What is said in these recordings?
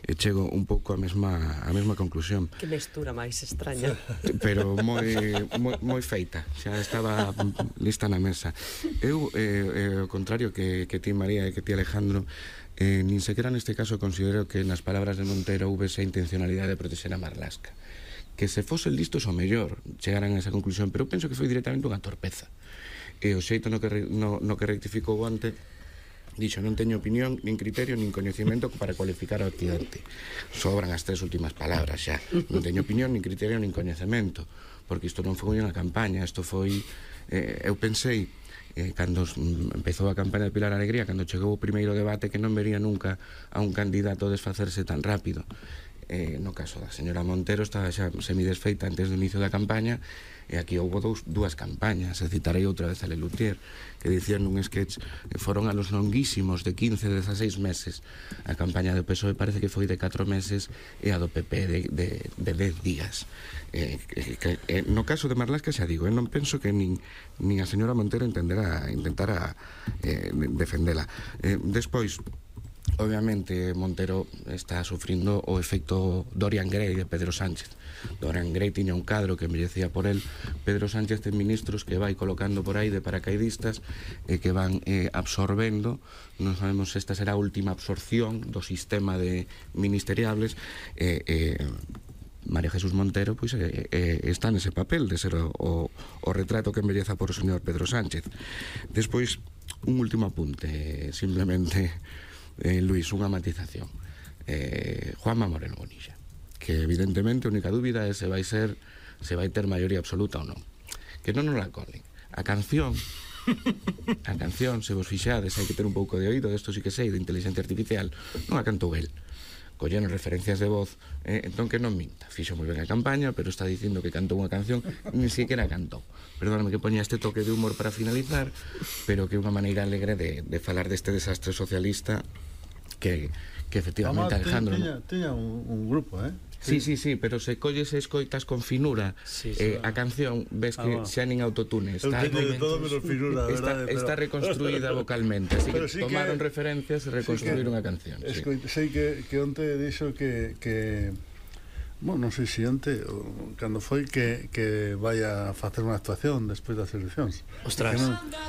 e chego un pouco a mesma conclusión. Que mestura máis extraña. Pero moi feita, xa estaba lista na mesa. Eu, ao contrario que ti, María, e que ti, Alejandro, nin sequera neste caso considero que nas palabras de Montero hoube esa intencionalidade de protexer a Marlaska. Que se fosen listos ao mellor chegaran a esa conclusión, pero eu penso que foi directamente unha torpeza. E o xeito no que rectificou onte, dixo: non teño opinión, nin criterio, nin coñecemento para cualificar o accidente. Sobran as tres últimas palabras xa. Non teño opinión, nin criterio, nin coñecemento, porque isto non foi unha campaña, isto foi... eu pensei, cando empezou a campaña de Pilar Alegría, cando chegou o primeiro debate, que non vería nunca a un candidato desfacerse tan rápido. No caso da señora Montero estaba xa semidesfeita antes do inicio da campaña, e aquí houve dúas campañas. E citarei outra vez a Lelutier, que dicían nun sketch que foron a los longuísimos de 15-16 meses. A campaña do PSOE parece que foi de 4 meses e a do PP de 10 días. No caso de Marlaska, xa digo, non penso que nin a señora Montero intentara defendela. Despois, obviamente, Montero está sufrindo o efecto Dorian Gray de Pedro Sánchez. Dorian Gray tiña un cadro que envellecía por él. Pedro Sánchez ten ministros que vai colocando por aí de paracaidistas e que van absorbendo. Non sabemos se esta será a última absorción do sistema de ministeriables. María Jesús Montero pois está nese papel de ser o retrato que embelleza por o señor Pedro Sánchez. Despois, un último apunte, simplemente, Luís, unha matización. Juanma Moreno Bonilla, que evidentemente a única dúbida é se vai ter maioría absoluta ou non. Que non nos la colen. A canción, se vos fixades, hai que ter un pouco de oído, desto sí que sei, de inteligencia artificial, non a cantou el. Colleron referencias de voz, entón que non minta. Fixo moi ben a campaña, pero está dicindo que cantou unha canción, nin siquiera cantou. Perdóname que poña este toque de humor para finalizar, pero que é unha maneira alegre de falar deste desastre socialista que efectivamente, Alejandro... Teña un grupo, Sí, pero se colles e escoitas con finura a canción, ves que xa nin autotune está reconstruída vocalmente, así que tomaron referencias e reconstruíron a canción. Sei que onte dixo que non sei se onte cando foi que vai a facer unha actuación despois das eleccións. Ostras.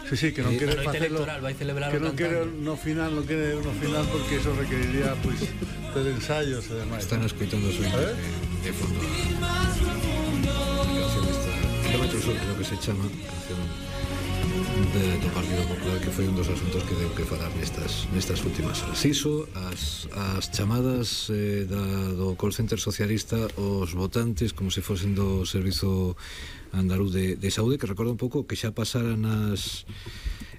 Que non quere facerlo, vai celebrar que non quere no final porque eso requeriría pois ter ensaios e demais. Están escoitando o sueño de fondo a canción esta Kilómetro Sur, creo que se chama, canción do Partido Popular, que foi un dos asuntos que deu que falar nestas últimas horas. Iso, as chamadas do call center socialista os votantes como se fosen do Servizo Andaluz de Saúde, que recorda un pouco que xa pasaran as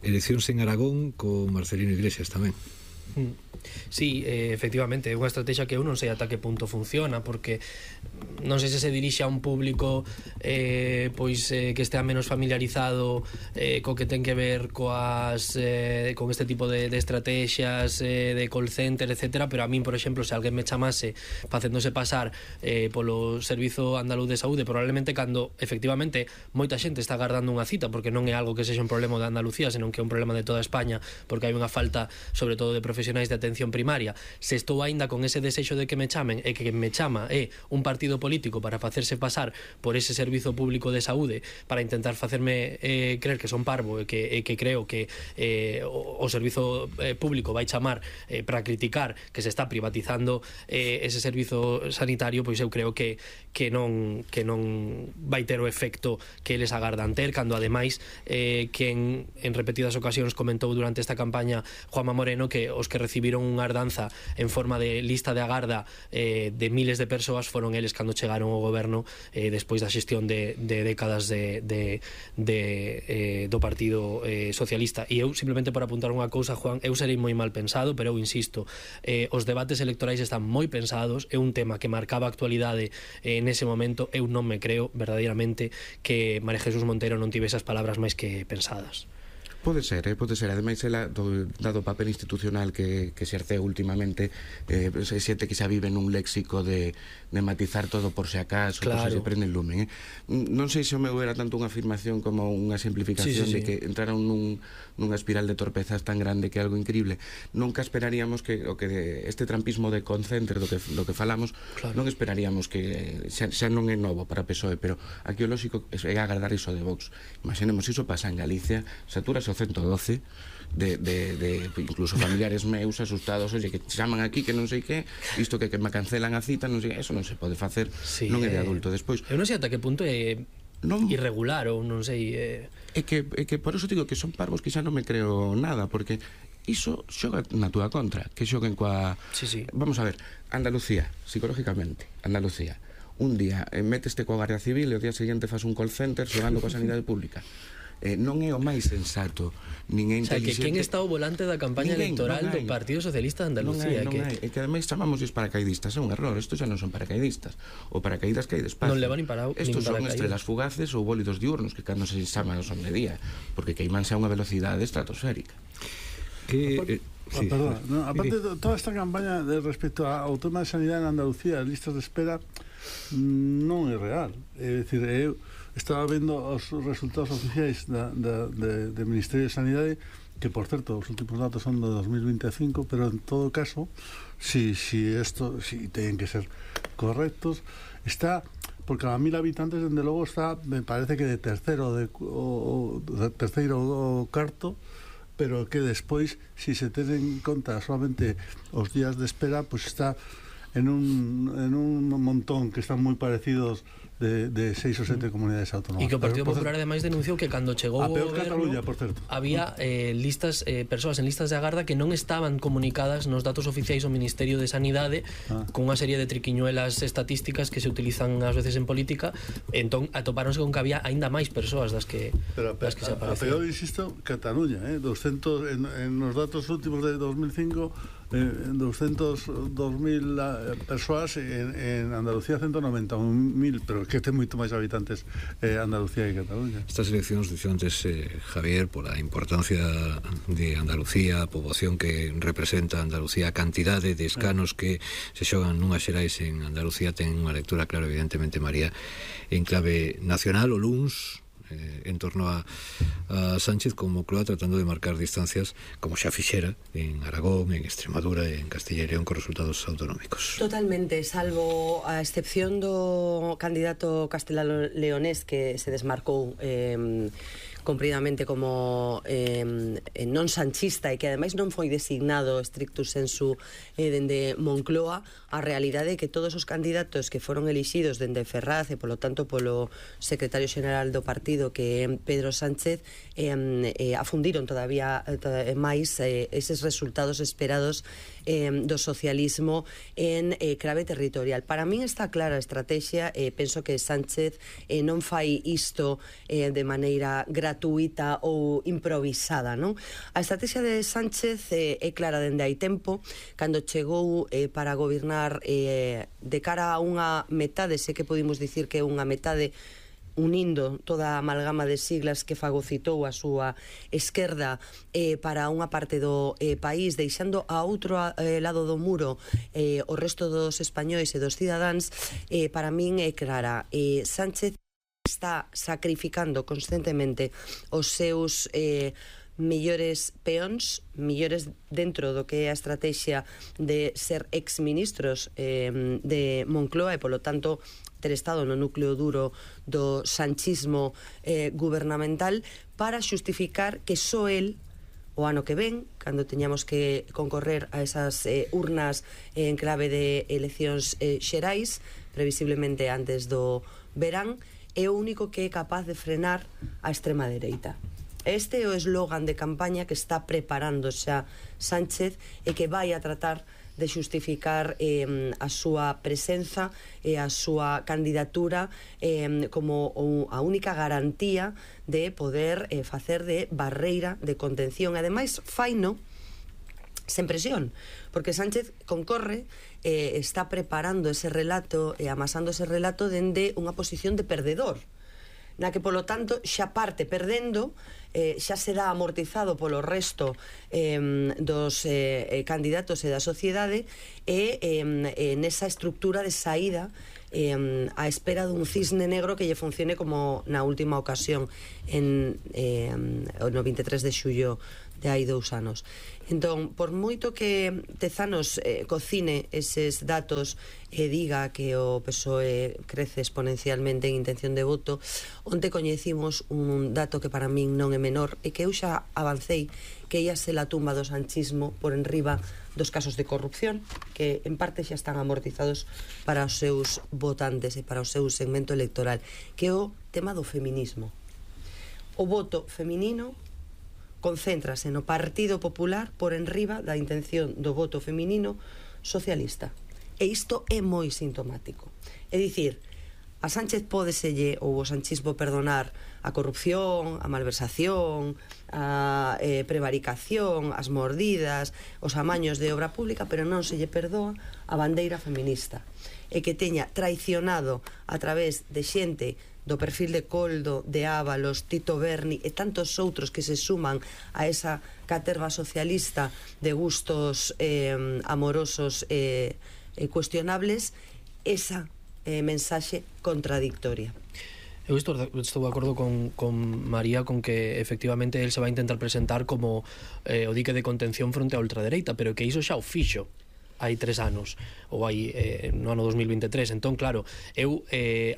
eleccións en Aragón con Marcelino Iglesias tamén. Sí, efectivamente, é unha estrategia que eu non sei ata que punto funciona, porque non sei se se dirixe a un público que estea menos familiarizado co que ten que ver con este tipo de estrategias de call center, etcétera, pero a min, por exemplo, se alguén me chamase facéndose pasar polo Servizo Andaluz de Saúde, probablemente cando efectivamente moita xente está agardando unha cita, porque non é algo que sexa un problema de Andalucía, senón que é un problema de toda España, porque hai unha falta sobre todo de profesionais de atención primaria. Se estou aínda con ese desexo de que me chamen e que me chama é un partido político para facerse pasar por ese servizo público de saúde para intentar facerme creer que son parvo e que creo que o servizo público vai chamar para criticar que se está privatizando ese servizo sanitario, pois eu creo que non vai ter o efecto que eles agardan ter, cando ademais que en repetidas ocasións comentou durante esta campaña Juanma Moreno que os que recibiron unha ardanza en forma de lista de agarda de miles de persoas foron eles cando chegaron ao goberno despois da xestión de décadas do Partido Socialista. E eu, simplemente por apuntar unha cousa, Juan, eu serei moi mal pensado, pero eu insisto, os debates electorais están moi pensados, é un tema que marcaba a actualidade nese momento. Eu non me creo verdadeiramente que María Jesús Montero non tive esas palabras máis que pensadas. Pode ser. Ademais, ela, dado o papel institucional que se exerceu últimamente, se xente que xa vive nun léxico de matizar todo por se acaso, claro, por se prende el lumen. Non sei se o meu era tanto unha afirmación como unha simplificación de que entraron nunha espiral de torpezas tan grande que é algo increíble. Nunca esperaríamos que este trampismo de Concenter do que falamos, claro, non esperaríamos que xa non é novo para PSOE, pero aquí o lógico é agardar iso de Vox. Imaginemos, iso pasa en Galicia, satúrase o 112 de incluso familiares meus asustados, oye, que chaman aquí que non sei que, isto que me cancelan a cita, non sei, eso non se pode facer, non é de adulto. Despois, eu non sei ata que punto é irregular ou non sei, é que por eso digo que son parvos que xa non me creo nada, porque iso xoga na túa contra, que xoguen coa... Vamos a ver, Andalucía, psicológicamente, Andalucía, un día meteste coa Guardia Civil e o día seguinte fas un call center xogando coa sanidade pública. Non é o máis sensato, nin é inteligente. O sea, que quen está ao volante da campaña electoral do Partido Socialista de Andalucía? Non hai. E que ademais chamamos os paracaidistas, é un error. Estos xa non son paracaidistas. O paracaídas que hai despacio. Non levan nin para estos son estrelas fugaces ou bólidos diurnos que cando se chaman son de día, porque queimanse a unha velocidade estratosférica. Perdón, aparte de toda esta campaña respecto ao tema de sanidade en Andalucía, as listas de espera non é real. É dicir, eu estaba vendo os resultados oficiais do Ministerio de Sanidade, que por certo os últimos datos son de 2025, pero en todo caso, si teñen que ser correctos, está por cada 1000 habitantes, dende logo está, me parece que de terceiro ou cuarto, pero que despois, si se ten en conta solamente os días de espera, pues está en un montón que están moi parecidos de 6 ou 7 comunidades autónomas. E que o Partido Popular ademais denunciou que cando chegou a peor o goberno Cataluña, por certo, había persoas en listas de agarda que non estaban comunicadas nos datos oficiais ao Ministerio de Sanidade, con unha serie de triquiñuelas estatísticas que se utilizan ás veces en política. Entón atopáronse con que había aínda máis persoas das que se aparecen. A peor, insisto, Cataluña, 200 en os datos últimos de 2005, 202.000 persoas, en Andalucía 191.000, pero que ten moito máis habitantes Andalucía que Cataluña. Estas eleccións, dixo antes Javier, pola importancia de Andalucía, a poboación que representa Andalucía, a cantidade de escanos que se xogan nunhas xerais en Andalucía, ten unha lectura, claro, evidentemente, María, en clave nacional, o luns, en torno a Sánchez como Moncloa, tratando de marcar distancias como xa fixera en Aragón, en Extremadura e en Castilla e León, con resultados autonómicos. Totalmente, salvo a excepción do candidato castelano-leonés que se desmarcou compridamente como non sanchista e que ademais non foi designado stricto sensu dende Moncloa, a realidade é que todos os candidatos que foron elixidos dende Ferraz e polo tanto polo secretario xeral do partido, que é Pedro Sánchez, afundiron todavía máis eses resultados esperados do socialismo en clave territorial. Para min está clara a estrategia, penso que Sánchez non fai isto de maneira gratuita ou improvisada, non? A estrategia de Sánchez é clara dende hai tempo, cando chegou para gobernar de cara a unha metade, sei que podemos dicir que é unha metade unindo toda a amalgama de siglas que fagocitou a súa esquerda para unha parte do país, deixando a outro lado do muro o resto dos españois e dos cidadáns. Para min é clara, Sánchez está sacrificando constantemente os seus mellores peóns, mellores dentro do que é a estrategia de ser exministros de Moncloa e, polo tanto, ter estado no núcleo duro do sanchismo gubernamental, para xustificar que só el, o ano que ven, cando teñamos que concorrer a esas urnas en clave de eleccións xerais, previsiblemente antes do verán, é o único que é capaz de frenar a extrema dereita. Este é o eslogan de campaña que está preparando xa Sánchez e que vai a tratar de xustificar a súa presenza e a súa candidatura como a única garantía de poder facer de barreira de contención. Ademais, faino sen presión, porque Sánchez concorre, está preparando ese relato e amasando ese relato dende unha posición de perdedor. na que, polo tanto, xa parte perdendo, xa se dá amortizado polo resto dos candidatos e da sociedade, e nesa estructura de saída a espera dun cisne negro que lle funcione como na última ocasión no 23 de xullo de hai 2 anos. Entón, por moito que Tezanos cocine eses datos e diga que o PSOE crece exponencialmente en intención de voto, onte coñecimos un dato que para min non é menor e que eu xa avancei, que ia ser a tumba do sanchismo por enriba dos casos de corrupción, que en parte xa están amortizados para os seus votantes e para o seu segmento electoral, que é o tema do feminismo. O voto feminino concéntrase no Partido Popular por enriba da intención do voto feminino socialista. E isto é moi sintomático. É dicir, a Sánchez pódeselle, ou o sanchismo, perdonar a corrupción, a malversación, a prevaricación, as mordidas, os amaños de obra pública, pero non se lle perdoa a bandeira feminista. E que teña traicionado a través de xente do perfil de Coldo, de Ábalos, Tito Berni e tantos outros que se suman a esa caterva socialista de gustos amorosos cuestionables, esa mensaxe contradictoria. Eu estou de acordo con María con que efectivamente el se vai intentar presentar como o dique de contención fronte á ultradereita, pero que iso xa o fixo hai 3 anos ou hai no ano 2023. Entón, claro, eu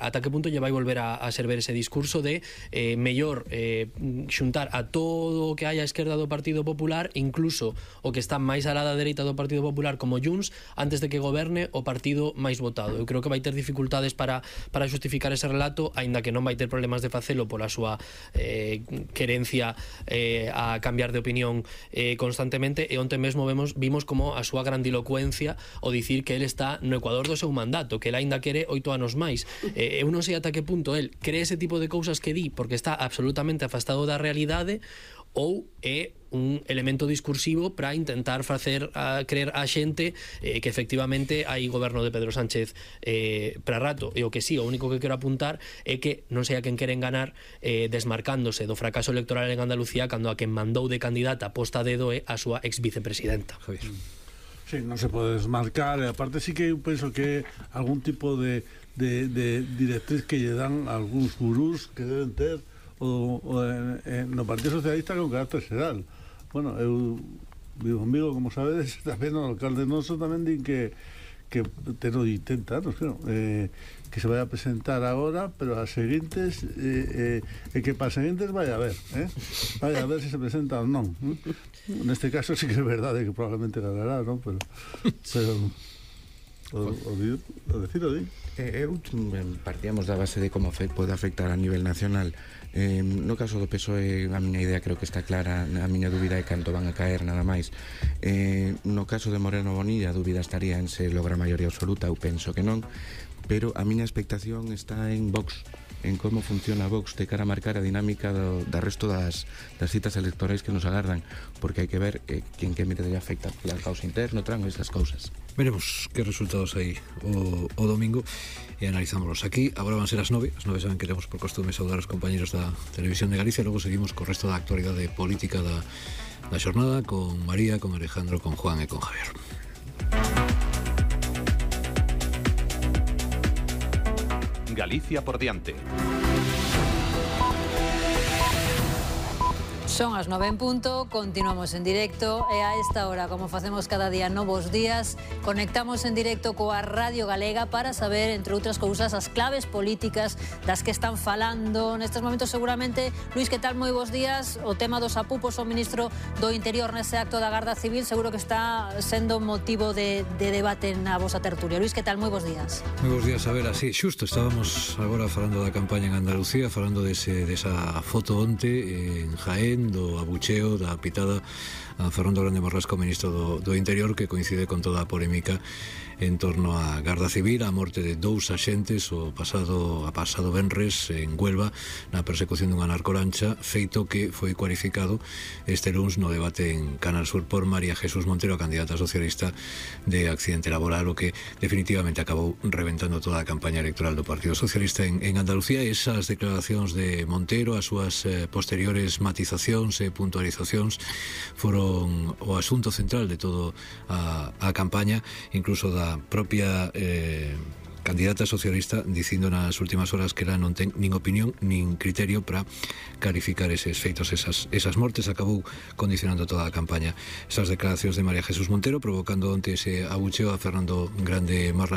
ata que punto lle vai volver a server ese discurso de mellor xuntar a todo o que hai á esquerda do Partido Popular, incluso o que está máis alá da dereita do Partido Popular como Junts, antes de que goberne o partido máis votado. Eu creo que vai ter dificultades para xustificar ese relato, aínda que non vai ter problemas de facelo pola súa querencia a cambiar de opinión constantemente, e onte mesmo vimos como a súa grandilocuencia o dicir que el está no ecuador do seu mandato, que el aínda quere 8 anos máis. Eu non sei ata que punto el cree ese tipo de cousas que di porque está absolutamente afastado da realidade, ou é un elemento discursivo para intentar facer creer a xente que efectivamente hai goberno de Pedro Sánchez para rato. E o que sí, o único que quero apuntar é que non sei a quen queren ganar desmarcándose do fracaso electoral en Andalucía, cando a quen mandou de candidata posta a dedo é a súa ex vicepresidenta. Javier. Sí, non se pode desmarcar, e aparte sí que eu penso que algún tipo de directriz que lle dan algúns gurús que deben ter no Partido Socialista con carácter xeral. Bueno, eu vivo en Vigo, como sabedes, tamén o alcalde noso tamén din que ten 80 anos, que se vai a presentar agora, pero as seguintes que para as seguintes vai a ver se se presenta ou non. Neste caso sí que é verdade que probablemente ganará, non? Pero o decir o di. Eu partíamos da base de como pode afectar a nivel nacional. No caso do PSOE, a miña idea creo que está clara, a miña dúbida é canto van a caer, nada máis. No caso de Moreno Bonilla, a dúbida estaría en se logra a maioría absoluta, eu penso que non, pero a miña expectación está en Vox, en como funciona Vox de cara a marcar a dinámica do resto das citas electorais que nos agardan, porque hai que ver que en que medida afecta o caos interno, tran esas cousas. Veremos que resultados hai o domingo e analizámoslos aquí. Agora van ser as 9. As 9 saben que temos por costume saudar os compañeros da Televisión de Galicia. Logo seguimos co resto da actualidade política da xornada con María, con Alejandro, con Juan e con Javier. Galicia por diante. Son as 9 en punto, continuamos en directo e a esta hora, como facemos cada día novos días, conectamos en directo coa Radio Galega para saber, entre outras cousas, as claves políticas das que están falando nestes momentos seguramente. Luís, que tal? Moi bons días. O tema dos apupos ao ministro do Interior nese acto da Garda Civil seguro que está sendo motivo de debate na vosa tertulia. Luís, que tal? Moi bons días. Moi bons días, a ver, así, xusto, estábamos agora falando da campaña en Andalucía, falando desa foto onte en Jaén, do abucheo, da pitada a Fernando Grande Marlasca, o ministro do Interior, que coincide con toda a polémica en torno á Garda Civil, a morte de 2 axentes a pasado venres en Huelva na persecución dunha narcolancha, feito que foi cualificado este luns no debate en Canal Sur por María Jesús Montero, a candidata socialista, de accidente laboral, o que definitivamente acabou reventando toda a campaña electoral do Partido Socialista en Andalucía. Esas declaracións de Montero, as súas posteriores matizacións e puntualizacións foron o asunto central de todo a campaña, incluso da propia candidata socialista, dicindo nas últimas horas que ela non ten nin opinión nin criterio para calificar eses feitos, esas mortes. Acabou condicionando toda a campaña esas declaracións de María Jesús Montero, provocando onte ese abucheo a Fernando Grande Marlasca,